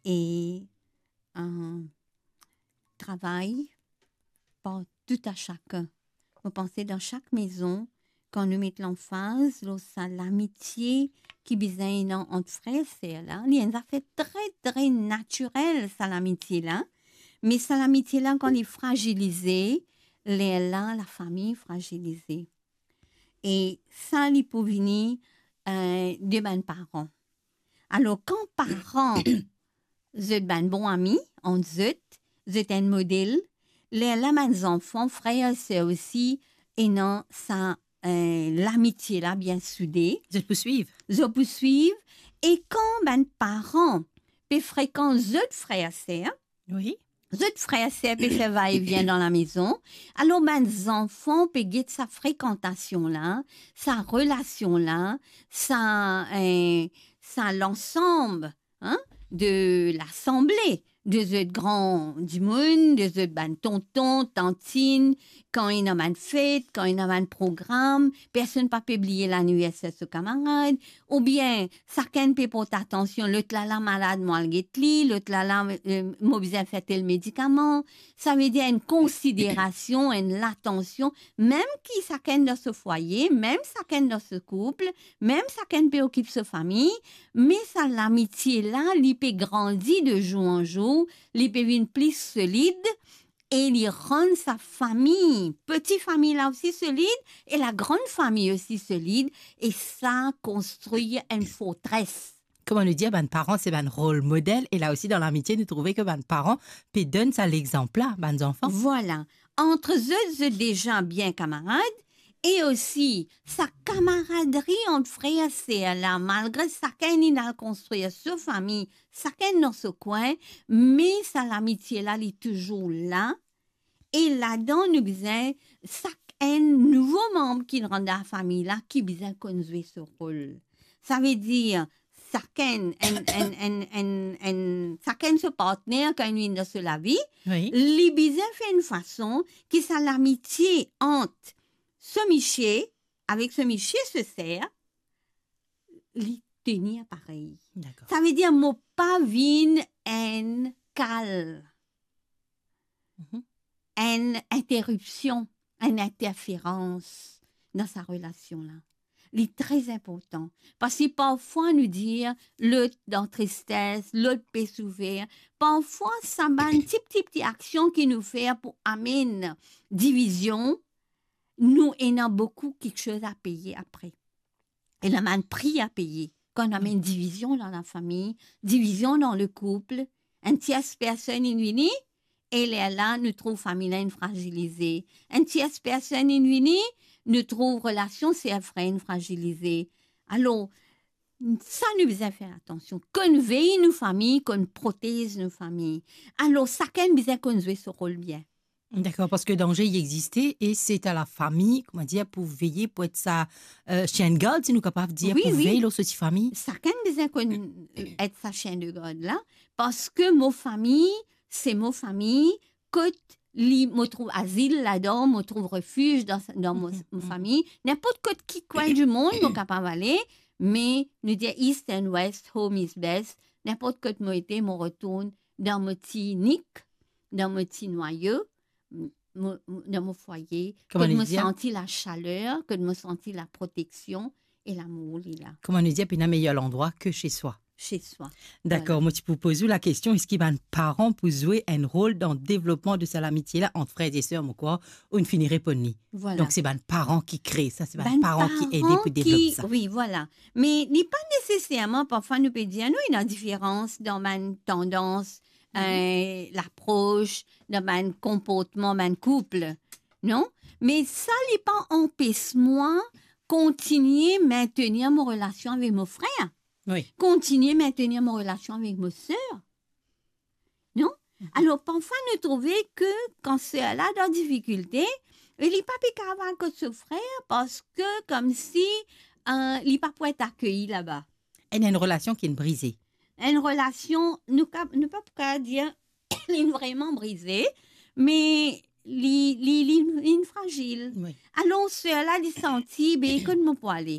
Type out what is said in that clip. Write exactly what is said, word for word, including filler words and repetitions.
e, euh, travay par tou a sakenn. Mo panse dan sak mezon, kan nou met lanfaz lor sa lamitie ki bizin ena ant frer e ser la, li enn zafer tre, tre natirel, sa lamitie la. Me sa lamitie la, kan li frazilize, lerla lafami frazilize. E sa, li pou vini, eh, de bann paran. Alor, kan paran, zot bann bon ami ant zot, zot enn model, lerla bann zanfan, frer e ser osi, ena sa, eh, lamitie la bien soude. Zot pou swiv. Zot pou swiv. E kan bann paran pe frekant zot frer e ser, wi, zot frer e ser pe fer va-e-vien dan lamezon, alor bann zanfan pe get sa frekantasion la, sa relasion la, sa, eh, sa lansam, hein, de lasanble, de zot gran dimoun, de zot bann tonton, tantin, kan ena bann fet, kan ena bann program, personn pa pe bliye laniverser so kamarad, oubien sakenn pe port atansion, lot la la malad, mo al get li, lot la la, eh, mo bizin fer tel medikaman. Savedir enn konsiderasion, enn latansion, mem ki sakenn dan so fwaye, mem sakenn dan so koup, mem sakenn pe okip so fami, me sa lamitie la, li pe grandi de zour an zour, li pe vinn pli solid, e li rann sa fami, peti fami la osi solid, e lagran fami osi solid, e sa konstrir enn fortres. Kouma nou dir, bann paran se bann rol model, e la osi dan lamitie, nou trouve ki bann paran pe donn sa lexanp la, bann zanfan. Vwala. Ant zot, zot deza bien kamarad, e osi sa kamaradri ant frer e ser la, malgre sakenn inn al konstrir so fami, sakenn dan so kwin, me sa lamitie la, li touzour la. E ladan, nou bizin, sakenn nouvo manb ki rant dan lafami la, ki bizin konn zwe so rol. Savedir, sakenn, enn, enn, enn, enn, enn, sakenn so partner, kan li vinn dan so lavi, wi, li bizin fer enn fason ki sa lamitie ant so misie avek so misie so ser, li tenir parey. Dakor. Savedir, mo pa vinn enn kal, mhm, enn interipsion, enn interferans dan sa relasion la. Li tre inportan. Parski parfwa nou dir, lot dan tristes, lot pe soufer. Parfwa, sa bann ti, ti, ti aksion ki nou fer pou amenn divizion, nou ena boukou kiksoz a peye apre. Ena bann pri a peye. Kan nou amenn divizion dan lafami, divizion dan le koup, enn tiers personn inn vini, e lerla nou trouv fami la inn frazilize. Enn tiers personn inn vini, nou trouv relasion ser frer inn frazilize. Alor, sa nou bizin fer atansion. Konn vey nou fami, konn protez nou fami. Alor, sakenn bizin konn zwe so rol bien. Dakor, parski danze i existe e se a lafami, kouma dir, pou veye, pou et sa, euh, chien de garde, si nou kapav dir, wi, pou, wi, vey lor so ti fami. Sakenn bizin konn, euh, et sa chien de garde la, parski mo fami, se mo fami, kot li, mo trouv azil ladan, mo trouv refiz dan, dan mo, mhm, mo, mhm, fami. Ninport kot ki kwin dimond mo kapav ale, me nou dir east and west, home is best. Ninport kot mo ete, mo retourn dan mo ti nik, dan mo ti nwayo, mo, mo, dan mo fwaye, kouma kot nou dir, mo santi lasaler, kot mo santi laproteksion e lamour li la. Kouma nou dir, pena meyer landrwa ki chez soi. Chez soi. Dakor, vwala. Mo ti pou poz ou lakestion, eski bann paran pou zwe enn rol dan devlopman de sa lamitie la ant frer e ser, mo krwar ou'nn fini reponn li. Vwala. Donk, se bann paran ki kree sa, se bann, bann paran ki ede pou devlop sa. Wi, vwala. Me li pa neseserman, parfwa nou pe dir, nou, ena diferans dan bann tandans, mhm, eh, lapros, dan bann konportman bann koup, non? Me sa, li pa anpes mwa kontinie mentenir mo relasion avek mo frer. Wi. Kontinie mentenir mo relasion avek mo ser. Non? Mhm. Alor, parfwa nou trouve ki kan ser la dan difikilte, e li pa pe kapav al kot so frer parski koumsi, euh, li pa pou et akeyi laba. Enn, enn relasion ki inn brize. Enn relasion, nou ka, nou pa pou kapav dir li vreman brize, me li, li, li, li frazil. Wi. Alor, ser la, li santi, be, kot mo pou ale?